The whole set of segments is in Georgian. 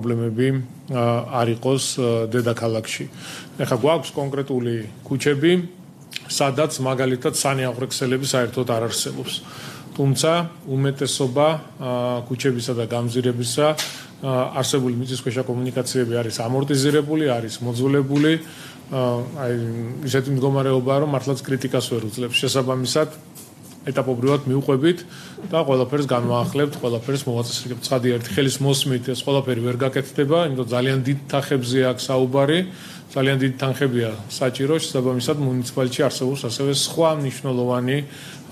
პრობლემები არ იყოს დედაქალაქში. ეხლა გვაქვს კონკრეტული ქუჩები, სადაც მაგალითად სანიაღვრე ქსელები საერთოდ არ არსებობს. თუმცა უმეტესობა ქუჩებისა და გამზირებისა არსებული მიწისქვეშა კომუნიკაციები არის ამორტიზირებული, არის მოძველებული, აი ისეთი მდგომარეობაა, რომ მართლაც კრიტიკას ვერ უძლებს. შესაბამისად, ეტაპობრივად მივყვებით და ყველაფერს განვაახლებთ, ყველაფერს მოვაწესრიგებთ. ცხადი ერთი ხელის მოსმით ეს ყველაფერი ვერ გაკეთდება, იმიტომ ძალიან დიდ თანხებზე აქვს საუბარი, ძალიან დიდი თანხებია საჭირო, შესაბამისად მუნიციპალიტეტში არსებობს ასევე სხვა მნიშვნელოვანი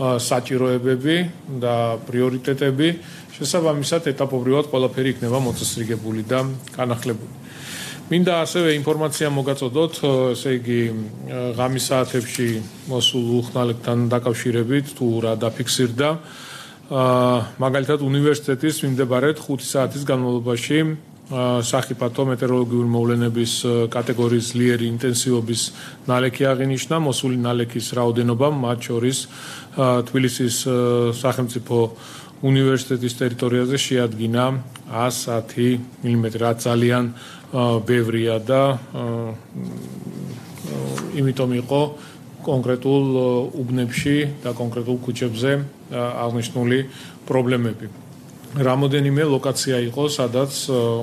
საჭიროებები და პრიორიტეტები, შესაბამისად ეტაპობრივად ყველაფერი იქნება მოწესრიგებული და განახლებული. მინდა ასევე ინფორმაცია მოგაწოდოთ, ესე იგი ღამის საათებში მოსულ უხსნალებთან დაკავშირებით თუ რა დაფიქსირდა. მაგალითად უნივერსიტეტის მიმდებარედ 5 საათის განმავლობაში სახიფათო მეტეოროლოგიური მოვლენების კატეგორიის ძლიერი ინტენსივობის ნალექი აღინიშნა, მოსული ნალექის რაოდენობა, მათ შორის თბილისის სახელმწიფო უნივერსიტეტის ტერიტორიაზე შეადგინა 110 მმ, რაც ძალიან ბევრია და იმიტომ იყო კონკრეტულ უბნებში და კონკრეტულ ქუჩებზე აღნიშნული პრობლემები. რამოდენიმე ლოკაცია იყო, სადაც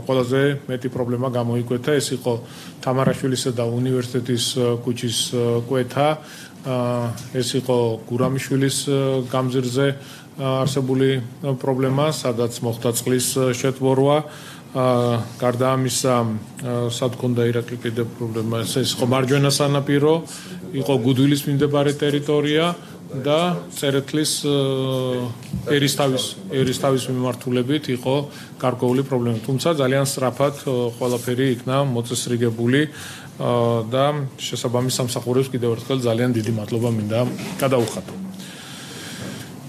ყველაზე მეტი პრობლემა გამოიკვეთა, ეს იყო თამარაშვილისა და უნივერსიტეტის ქუჩის კვეთა, ეს იყო გურამიშვილის გამზირზე არსებული პრობლემა, სადაც მოხდა წყლის შეტბორვა. გარდა ამისა, სად ქონდა ირაკლი კიდევ პრობლემა, ეს იყო მარჯვენა სანაპირო, იყო გუდვილის მიმდებარე ტერიტორია და წერეთლის ერისთავის მიმართულებით იყო გარკვეული პრობლემა. თუმცა ძალიან სწრაფად ყველაფერი იქნა მოწესრიგებული და შესაბამის სამსახურებს კიდევ ერთხელ ძალიან დიდი მადლობა მინდა გადაუხადო.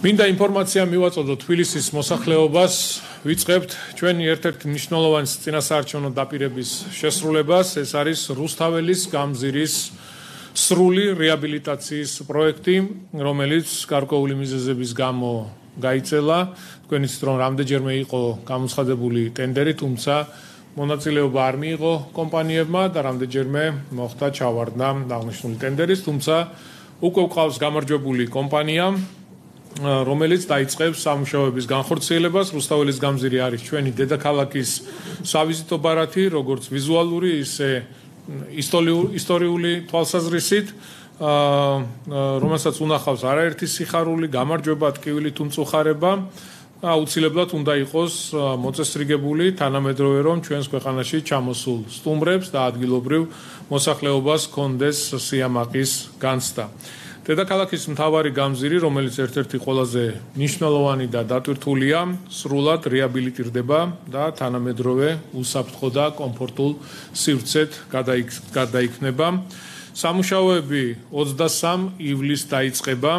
მინდა ინფორმაცია მივაწოდოთ თბილისის მოსახლეობას, ვიწყებთ ჩვენი ერთ-ერთი მნიშვნელოვანი წინასაარჩევნო დაპირების შესრულებას, ეს არის რუსთაველის გამზირის სრული რეაბილიტაციის პროექტი, რომელიც გარკვეული მიზეზების გამო გაიწელა. თქვენ იცით, რომ რამდენჯერმე იყო გამოცხადებული ტენდერი, თუმცა მონაწილეობა არ მიიღო კომპანიებმა და რამდენჯერმე მოხდა ჩავარდნა აღნიშნული ტენდერის, თუმცა უკვე გვყავს გამარჯვებული კომპანია, რომელიც დაიწყებს სამუშაოების განხორციელებას. რუსთაველის გამზირი არის ჩვენი დედაქალაქის სავიზიტო ბარათი, როგორც ვიზუალური, ისე ისტორიული თვალსაზრისით, რომელსაც უნახავს არაერთი სიხარული, გამარჯვება, ტკივილი თუ მწუხარება. აუცილებლად უნდა იყოს მოწესრიგებული თანამედროვე, რომ ჩვენს ქვეყანაში ჩამოსულ სტუმრებს და ადგილობრივ მოსახლეობას ჰქონდეს სიამაყის განცდა. დედაქალაქის მთავარი გამზირი, რომელიც ერთ-ერთი ყველაზე მნიშვნელოვანი და დატვირთულია, სრულად რეაბილიტირდება და თანამედროვე უსაფრთხო და კომფორტულ სივრცედ გადაიქნება. სამუშაოები 23 ივლისს დაიწყება,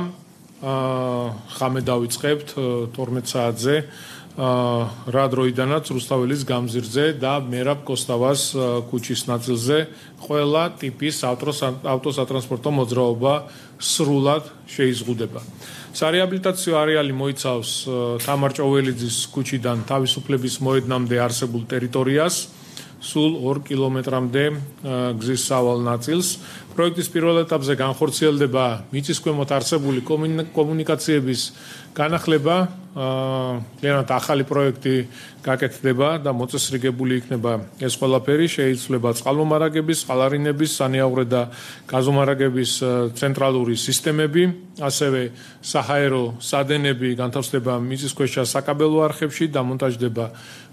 ხამე დავიწყებთ 12 საათზე, რა დროიდანაც რუსთაველის გამზირზე და მერაბ კოსტავას ქუჩის ნაწილზე ყველა ტიპის ავტოსატრანსპორტო მოძრაობა სრულად შეიზღუდება. სარეაბილიტაციო არეალი მოიცავს თამარ-ჭოველიძის ქუჩიდან თავისუფლების მოედნამდე არსებულ ტერიტორიას, სულ 2 კილომეტრამდე გზის სავალ ნაწილს. პროექტის პირველ ეტაპზე განხორციელდება მიწისქვემოთ არსებული კომუნიკაციების განახლება, ძალიანად ახალი პროექტი გაკეთდება და მოწესრიგებული იქნება ეს ყველაფერი, შეიცვლება წყალმომარაგების, წყალარინების, სანიაღვრე და გაზომარაგების ცენტრალური სისტემები, ასევე საჰაერო სადენები განთავსდება მიწისქვეშა საკაბელო არხებში, დამონტაჟდება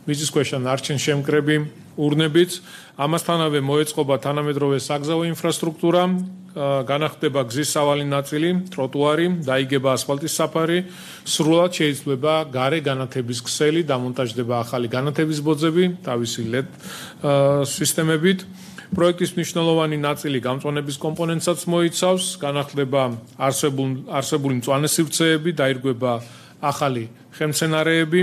მიწისქვეშა ნარჩენშემკრები ურნებით. ამასთანავე მოეწყობა თანამედროვე საგზაო ინფრასტრუქტურა, განახდება გზის სავალი ნაწილი, ტროტუარი, დაიგება ასფალტის საფარი, სრულად შეიცვლება გარე განათების ქსელი, დამონტაჟდება ახალი განათების ბოძები თავისი LED სისტემებით. პროექტის მნიშვნელოვანი ნაწილი გამწვანების კომპონენტსაც მოიცავს, განახლდება არსებული მწვანე სივრცეები, დაირგვება ახალი ხელმცენარეები,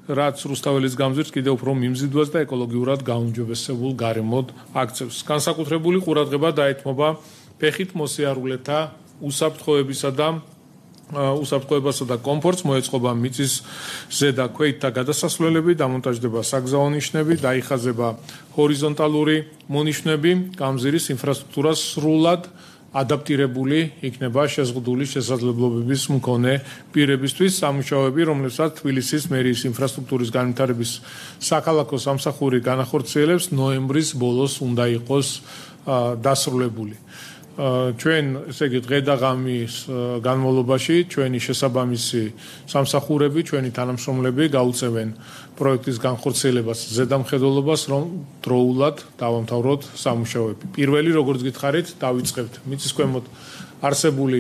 რაც რუსთაველის გამზირს კიდევ უფრო მიმზიდვას და ეკოლოგიურად გაუმჯობესებულ გარემოდ აქცევს. განსაკუთრებული ყურადღება დაეთმობა ფეხით მოსიარულეთა უსაფრთხოებისა და უსაფრთხოებასა და კომფორტს, მოეწყობა მიწის ზედა ქვით და გადასასვლელები, დამონტაჟდება საგზაო ნიშნები, დაიხაზება ჰორიზონტალური მონიშნები, გამზირის ინფრასტრუქტურა სრულად ადაპტირებული იქნება შეზღუდული შესაძლებლობების მქონე პირებისთვის. სამუშაოები, რომლებსაც თბილისის მერიის ინფრასტრუქტურის განვითარების საქალაქო სამსახური განახორციელებს, ნოემბრის ბოლოს უნდა იყოს დასრულებული. ჩვენ, ესე იგი, დღე და ღამის განმავლობაში ჩვენი შესაბამისი სამსახურები, ჩვენი თანამშრომლები გაუწევენ პროექტის განხორციელებას, ზედამხედველობას, რომ დროულად დავამთავროთ სამუშაოები. პირველი, როგორც გითხარით, დავიწყებთ მიწის ქვემოთ არსებული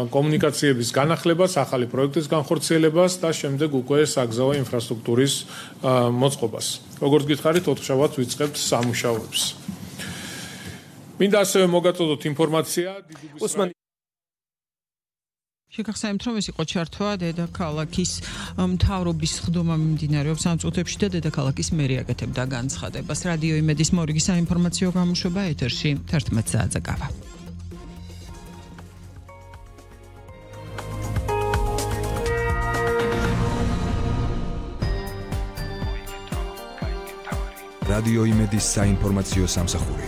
კომუნიკაციების განახლებას, ახალი პროექტის განხორციელებას და შემდეგ უკვე საგზაო ინფრასტრუქტურის მოწყობას. როგორც გითხარით, ოთხშაბათს ვიწყებთ სამუშაოებს. მინდა ასევე მოგაწოდოთ ინფორმაცია შეგახსენებთ, რომ ეს იყო ჩართვა დედაქალაქის მთავრობის ხდომა მიმდინარეობს ამ წუთებში და დედაქალაქის მერი აკეთებდა განცხადებას. რადიო იმედის მორიგი საინფორმაციო გამოშვება ეთერში 11 საათზე გავა. რადიო იმედის საინფორმაციო სამსახური.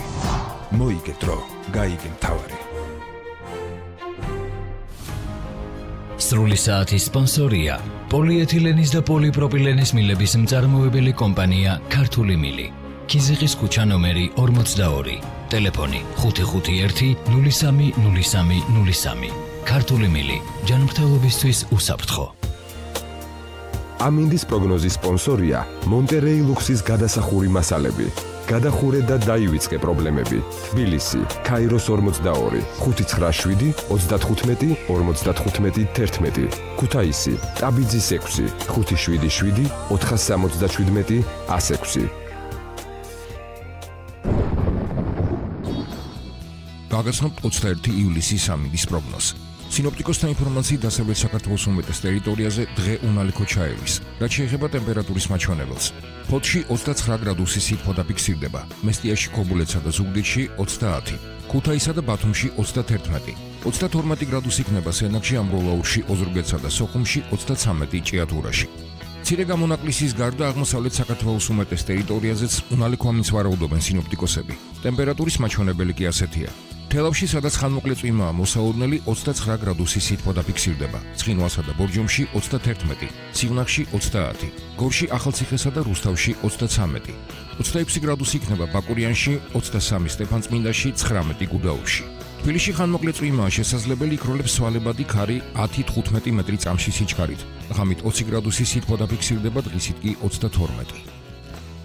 მოიგე დრო, გაიგე მთავარი. სრული საათის სპონსორია პოლიეთილენის და პოლიპროპილენის მილების მწარმოებელი კომპანია ქართული მილი. ქიზიყის ქუჩა ნომერი 42, ტელეფონი 551 03 03 03. ქართული მილი, ჯანმრთელობისთვის უსაფრთხო. ამინდის პროგნოზის სპონსორია მონტერეი ლუქსის გადასახური მასალები. გადახურე და დაივიწყე პრობლემები. თბილისი, ქაიროს 42, 597 35 55 11. ქუთაისი, ტაბიძის 6, 577 477 106. გაგაცნობთ 21 ივლისის ამინდის პროგნოზს. სინოპტიკოსთა ინფორმაციით დასავლეთ საქართველოს უმეტეს ტერიტორიაზე დღე უნალიქო ჩაევის, რაც შეეხება ტემპერატურის მაჩვენებელს. ფოთში 29 გრადუსი სითბო დაფიქსირდება, მესტიაში, ქობულეთსა და ზუგდიდში 30, ქუთაისსა და ბათუმში 31, 32 გრადუსი იქნება სენაკში, ამბროლაურში, ოზურგეთსა და სოხუმში 33 ჭიათურაში. მცირე გამონაკლისის გარდა აღმოსავლეთ საქართველოს უმეტეს ტერიტორიაზეც უნალიქო ამინს ვარაუდობენ სინოპტიკოსები. ტემპერატურის მაჩვენებელი კი ასეთია. თელავში, სადაც ხანმოკლე წვიმაა მოსაოდნელი, 29 გრადუსი სითბო დაფიქსირდება, ცხინვალსა და ბორჯომში 31, სივნახში 30, გორში, ახალციხესა და რუსთავში 33, 26 გრადუსი იქნება ბაკურიანში, 23 სტეფანწმინდაში, 19 გუდაუთში. თბილისში ხანმოკლე წვიმაა შესაძლებელი, იქროლებს სვალებადი ქარი 10-15 მეტრი წამში სიჩქარით, ღამით 20 გრადუსი სითბო დაფიქსირდება, დღისით კი 32.